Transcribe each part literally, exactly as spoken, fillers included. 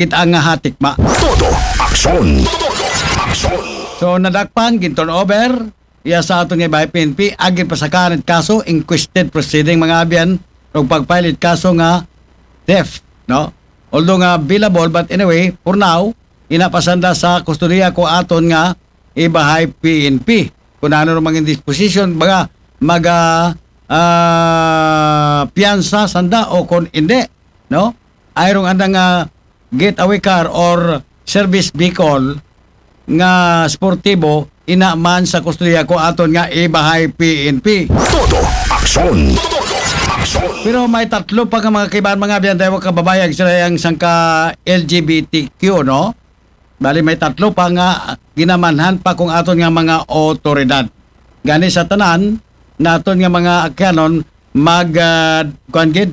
kita nga hatikma. Todo aksyon. Todo aksyon. So, nadakpan, gin-turnover, iya sa aton nga ibahay P N P, agin pasakaan it kaso, inquisitive proceeding, mga abyan, ug pag-file it kaso nga theft, no? Although nga bailable, but anyway, for now, ina pa sanda sa kustodiya ko aton nga ibahay P N P. Kung ano rong mga disposition, baga, mag, ah, ah, piyansa sanda o kung hindi, no? Ay rong andang, ah, getaway car or service vehicle nga sportibo, ina man sa kustodiya ko aton nga ibahay P N P. Todo aksyon. Todo aksyon. Pero may tatlo pa nga mga kaibahan, mga abyan, tayo kababayan, sila ang sangka L G B T Q, no? Bali, may tatlo pa nga ginamanhan pa kung aton nga mga otoridad. Gani sa tanan, naton nga mga akyanon, mag, ah, kuwan gid,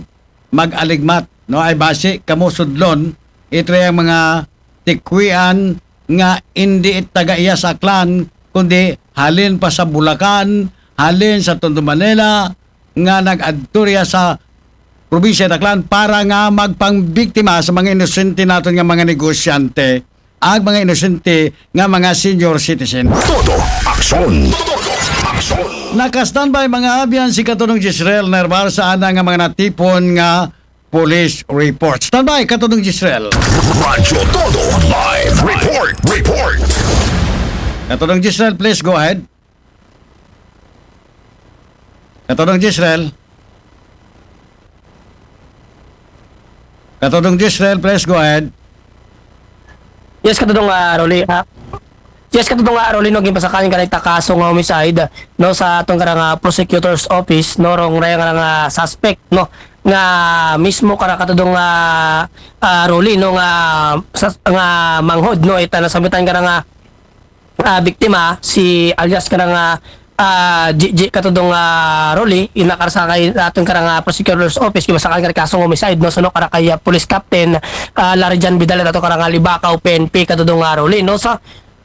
mag-aligmat, no? Ay basi, kamo sudlon, ito yung mga tikwian nga hindi it taga iya sa Aklan, kundi halin pa sa Bulacan, halin sa Tondo, Manila, nga nag-adto riya sa probinsya Aklan para nga magpangbiktima sa mga inosente naton nga mga negosyante, ag mga inosente nga mga senior citizen. Todo aksyon. Todo aksyon. Naka-standby, mga abyan, si Katulong Jezreel Nerval sa ana nga mga natipon nga police report. Standby, Katulong Jezreel. Radyo Todo Live Report. Report. Katulong Jezreel, please go ahead. Katulong Jezreel. Katulong Jezreel, please go ahead. Yes, Katudong, ah, Rolly. Ah, yes, Katudong, ah, Rolly, no, ginpasakaan ka nita kaso nga homicide, no, sa atong karang, ah, prosecutor's office, no, rong raya nga, nga suspect, no, nga mismo kara, Katudong, ah, ah, Rolly, no, nga sa, nga manghod, no, ita nasambitan karang, ah, ah, biktima, si alias karang, ah, ah, Gigi, Katudong, ah, Rolly, ina kara sa kay atong karang, ah, prosecutor's office, ginpasakaan kara kaso nga homicide, no, suno kara kay, ah, police captain, ah, Larijan Vidal, ato karang, ah, Libacao P N P, Katudong, ah, Rolly, no. So,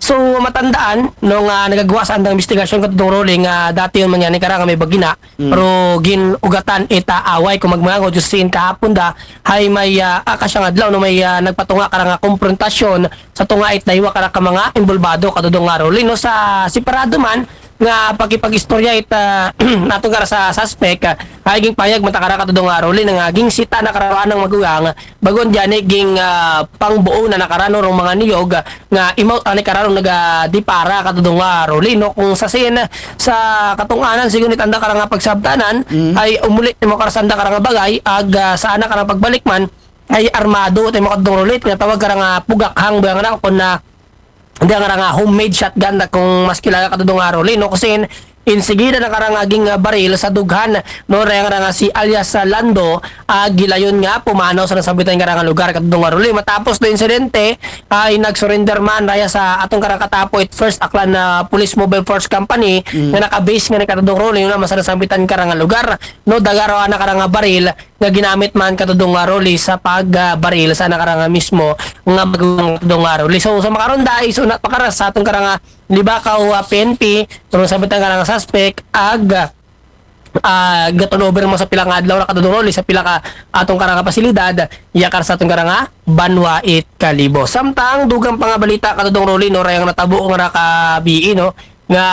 so matandaan, no, nga nagagawa sa andang investigasyon, Katudong Rolly, nga dati yun man yan ni karang may bagina, pero gin-ugatan ita away kung magmangod, just sin kahapon da, hay may, ah, ah, kasyang adlaw, no, may, ah, nagpatunga karang, ah, komprontasyon sa tunga it daywa kara ka mga involbado, Katudong, ah, Rolly, no. Sa separado man nga pakipag-istorya ita natong kara sa suspect, ah, ay ging payag man ta kara, Katudong, ah, Rolly, nga ging sita na kara anang magugang, bagon diyan, eh, ging, ah, pangbuo na nakara, no, rong mga niyog, ah, nga imaw ani kara rong nagadipara, Katudong, ah, Rolly, no. Kung sa sin, sa katunganan, sigun it anda kara nga pagsabtanan, ay umuli mo kara sa anda kara nga bagay, ag, ah, sa ana kara pagbalik man, ay armado tayo, Katudong Rolly, tinatawag kara nga pugakhang ba nga na, kung na, hindi nga nga homemade shotgun na kung mas kilala, Katudong, ah, Rolly, no. Kasi insigida na karang aging, ah, baril sa dughan, no, raya nga si alias, ah, Lando, ah, gilayon nga pumanaw sa nasambitan karang lugar, Katudong, ah, Rolly. Matapos do insidente, ay nag-surrender man raya sa atong karang katapo it First Aklan na Police Mobile Force Company nga naka-base nga ni, Katudong Rolly, na sa nasambitan karang lugar, no, dagaro ana karang baril nga ginamit man, Katudong, ah, Rolly, sa pagbaril sa ana karang mismo nga magulang, Katudong, ah, Rolly. So, sa makaron da, isunat pa kara sa atong karang, ah, Libacao, ah, P N P, kung nasambitan karang suspect, ag, ah, gaturnover mo sa pila nga adlaw na, Katudong Rolly, sa pila ka atong karang pasilidad, iya kara sa atong karang banwa it Kalibo. Samtang dugang pa nga balita, Katudong Rolly, no, rayang natabo nga nakabii, no, nga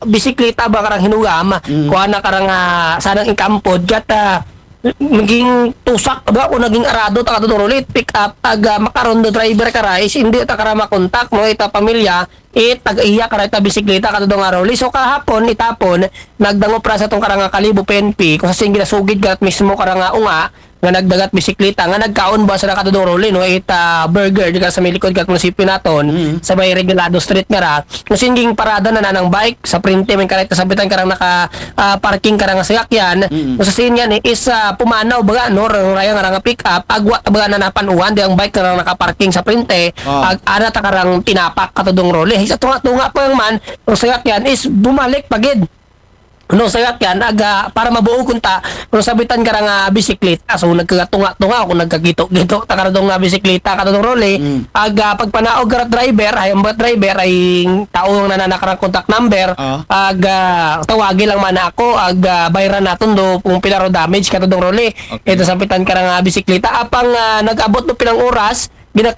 bisikleta ba karang hinugam, kuha na karang, ah, sanang ingkampod, gat, ah, naging tusak ba o naging arado ta, Katudong Rolly, pick up, ag, ah, makaron do driver kara, is hindi ta kara makontak, no, ita pamilya, it tag-iya kara ita bisikleta, Katudong, ah, Rolly. So kahapon, itapon, nagdangop ra sa atong karang Kalibo P N P, kung sa sin ginasugid gat mismo karang unga, nga nagdagat bisikleta, nga nagkaon ba sa, Katudong Rolly, no, ita burger, di ka sa may likod gat munisipyo naton, sa may Regalado Street nga ra, kung sin ging parada na nanang bike, sa printe, may kareta sa bitan karang naka, ah, parking karang sayakyan, kung sa sin yan, eh, is, ah, pumanaw baga, no, rong raya nga rang pick up, agwa baga na napanuan, di ang bike karang nakaparking sa printe, Ah. ag, ana ta karang tinapak, Katudong Rolly. Sa tunga-tunga pa man, rong sayakyan is bumalik pagid. No, sayakyan, aga, para mabuo kunta, kung sabitan karang bisikleta, so nagkagatunga-tunga, kung nagkagito-gito, ta karang bisikleta, Katudong Rolly, aga, pagpanaog kara driver, ay ang driver, ay tao nga nananakarang contact number, Ah. aga, tawagi lang man ako, aga, bayran naton do, kung pila ro damage, Katudong Rolly. Okay. Ito sabitan karang bisikleta, apang, ah, nag-abot do pilang oras, Bina